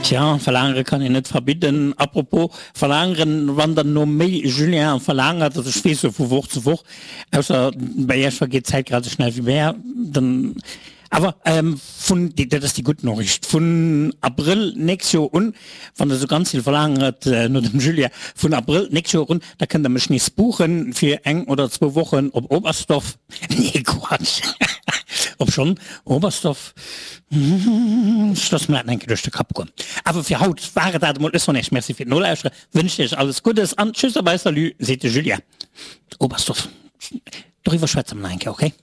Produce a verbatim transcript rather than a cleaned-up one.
Tja, verlaangere kann een net verbidden. Apropos verlaangeren, wann der no méi Julien verlaangert, also ech weess jo vu Woch zu Woch, ausser bei iech vergeet d'Zäit grad esou schnell wéi mär, dann awer vun, dat ass déi gutt Noriicht, vun Abrëll nächst Joer un, wann der esou ganz vill verlaangert no dem Julien, vun Abrëll nächst Joer un, da kënnt der mech nees buchen fir eng oder zwou Wochen op Oberstdorf. Nee, Quatsch, obschonn Oberstdorf, ech loosse mer dat nach eng Kéier duerch de Kapp goen. Awer fir haut war et dat emol. Ech soen Iech Merci fir d'Nolauschtere, wënschen Iech alles Guddes an Tschüss a bye salut, seet de Julien. Oberstdorf, doriwwer schwätze mer nach eng Kéier, okay?